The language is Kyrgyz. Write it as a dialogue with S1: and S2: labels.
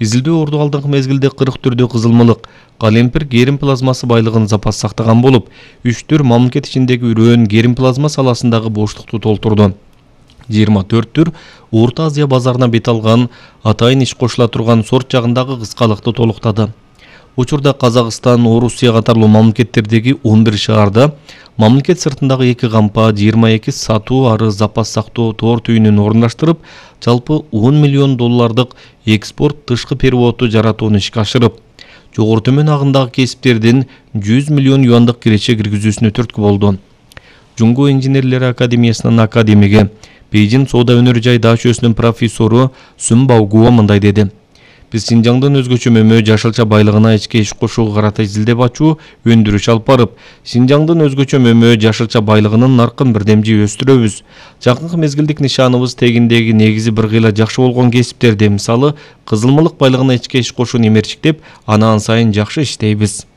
S1: Изилдөө орду алдыңкы мезгилде 44 кызылмылык, калемпир керим плазмасы байлыгын запас сактаган болуп, 3 мамлекет ичиндеги үрөөн керим плазма саласындагы боштукту толтурду. 24 түр Орто Азия базарына бет алган, атайын иш кошула турган сорт жагындагы кыскалыкты толуктады. Учурда Казакстан, Орусия катарлуу мамлекеттердеги 11 шаарда, мамлекет сыртындагы 2 кампа, 22 сатуу ары запас сактоо тоор түйүнүн орундаштырып, жалпы $10 миллион экспорт тышкы переводду жаратууну ишке ашырып, жогору төмөн агындагы кесиптердин 100 миллион юандык киреше киргизүүсүнө түрткү болду. Жуңгу инженерлери академиясынын академиги, Бейжин соода өнөрү жай даачөсүнүн профессору Сүм Баугуа мындай деди. Биз Синжаңдын өзгөчө мөмө жашылча байлыгына ичке иш кошууга карата изилдеп ачуу, өндүрүш алып барып, Синжаңдын өзгөчө мөмө жашылча байлыгынын наркын бирдемжи өстүрөбүз. Жакынкы мезгилдик нишаныбыз тегиндеги негизи бир кыйла жакшы болгон кесиптерди, мисалы, кызылмылык байлыгына ичке иш кошууну эмерчиктеп, анан сайын жакшы иштейбиз.